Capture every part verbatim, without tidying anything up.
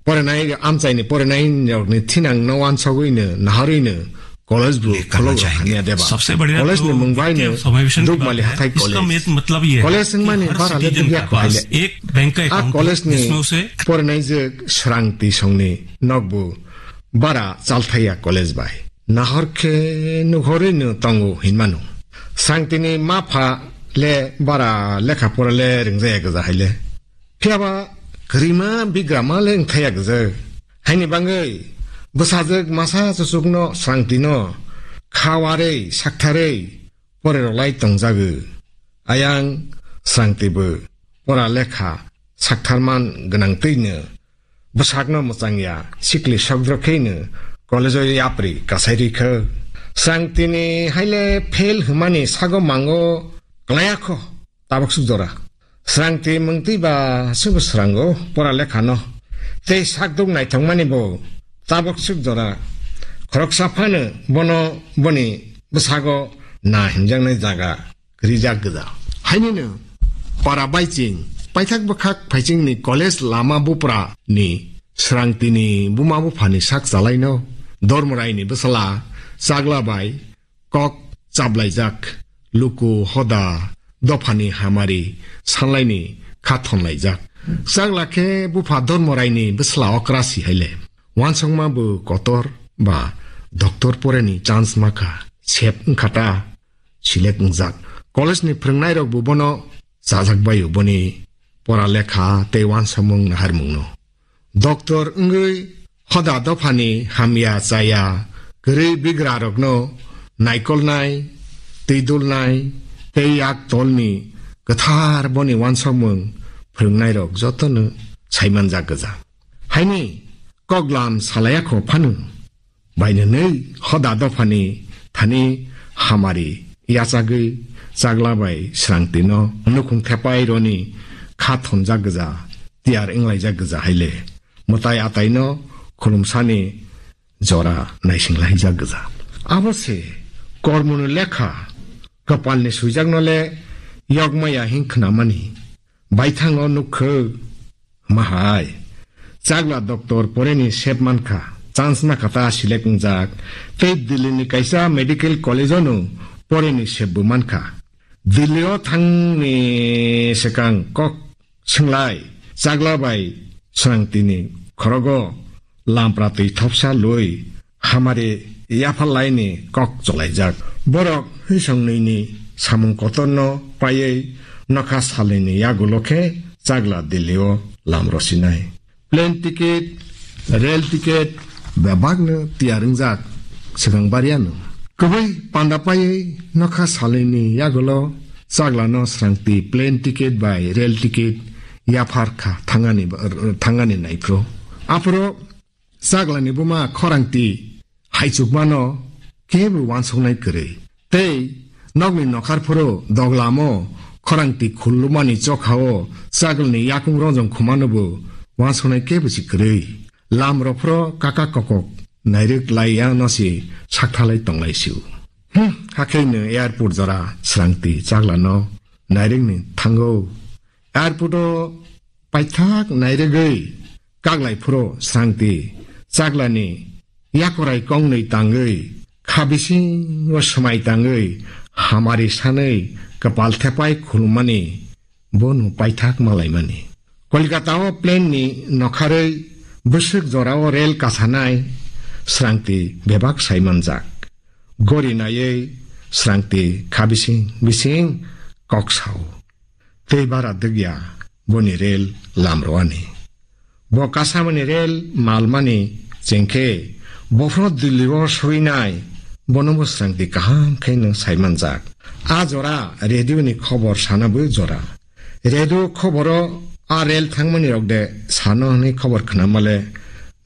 Porinai amchaini porinai rokni thinangno wansogwino naharwino college bo khulok rok hamya deba. College ni mung bai no Dukmali Hathai College. College wngmani bara le dugya kho haile. A college ni porinai je Srangti songni nokbo bara chalthaiya college bai. Nahor khe nuhorwino tongo hinmano. Srangtini mapha le bara lekha pora le ringjaya gwja haile. Phiyaba kwrwima bigrama le wngthaya gwja. Haini bangwi bwsajwk masa chuchukno Srangtino kha warwi saktharwi porerok lai tongjagwi. Ayang Srangtibo pora lekha saktharman gwnangtwino bwsakno mwchangya sikli sokdrok kheino college-o yapri kasairwi kho. Srangtini haile fail hwnmani sago mango klaya kho. Tabuk suk jora. Srangti mungtwi ba subu srango pora lekhano. Tei sakduk naithokmani bo tabuk suk jora. Khoroksa phano bono boni bwsago na himjaknai jaga rijak gwja. Hainino para baiching, paithak bwkhak phaichingni college lama bupra ni Srangtini buma buphani sak chalaino Dormoraini bwsala Chagla bai kok chaplaijak, luku hoda dophani hamari sanlaini kha thonlaijak. Chagla khe bupha Dormoraini bwsla okra si haile. Wansokma bo kotor ba doctor poreni chance makha, sep wngkha ta, select wngjak. College ni phwrwngnairok bo bono chajak baio boni pora lekha tei wansokmung naharmungno. Doctor wngwi hoda dophani hamya chaya kwrwi bigrarokno naikolnai, twidulnai tei yak tolni kwthar boni wansokmung phwrwngnairok jotono saimanjak gwja. Haini koklam salaiya kho phano bainanwi hoda dophani thani hamari yachagwi Chagla bai Srangtino nukhung thepai roni kha thonjak gwja, tiyar wnglaijak gwja haile. Mwtai ataino khulumsani jora naisinglaijak gwja. Abo se kormoni lekha kwpalni swijakno le yokmaya hin khnamani. Baithango nukho. Mahai. Chagla doctor poreni sep mankha, chance makha ta select wngjak, tei Delhi ni kaisa medical college o no poreni sep bo mankha. Delhi o thangni swkang kok swnglaijak Chagla bai Srangtini khorogo lampra twi thopsa lwi hamari yapharlaini kok cholaijak. Borok hwisong nwini samung kotorno paiwi nokha salnwini yagulo khe Chagla Delhi o lam rwsinai. Plane ticket, rail ticket bebakno tiyar wngjak swkang bariano. Kwbwi panda paiwi nokha salnwini yagulo Chaglano Srangti plane ticket bai rail ticket yaphar kha thangani, thangani naiphru. Aphuru Chaglani buma khorangti haichukmano kebo wansuknai kwrwi. Tei nokni nokhar phuru doglamo khorangti khulumani chokhao Chaglani yakung rojong khumanobo wansuknai kebo si kwrwi. Lamrok phuru kaka kokok nairwk laiya no si sakthalai tonglai sio. Hmm, hakhe no airport jora Srangti Chaglano nairwkni thango. Airport o paithak nairwgwi kaglai phuru Srangti Chaglani yakorai kongnwi tangwi kha bisingo swmai tangwi hamari sanwi kwpal thepai khulumani bono paithak malaimani. Kolkata o plane ni nokharwi bwswk jora o rail kasanai Srangti bebak saimanjak. Gori naiwi Srangti kha bising bising kok sao. Tei bara dwgya boni rel lamroani. Bo kasamani rel malmani chengkhe bophno Delhi o soinai bono bo Srangti kaham khe no saimanjak. A jora radio ni khobor sana bo jora. Radio khoboro a rel thangmani rok de sano hwnwi khobor khnamale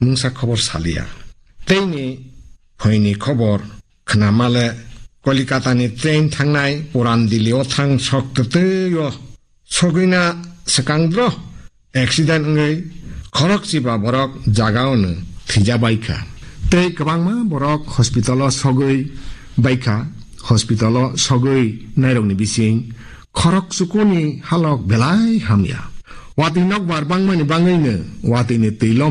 mungsa khobor salia. Teini phoini khobor khnamale Kolikatani train thangnai Puran Delhi o thang sok twtwi o sogwina swkang dro accident wngwi khorokchiba borok jaga ono thwijabaikha. Tei kwbangma borok hospital o sogwi baikha. Hospital o sogwi nairokni bising khorok chukuni halok belai hamya. Watwi nokbar bangmani bangwino watwini twilo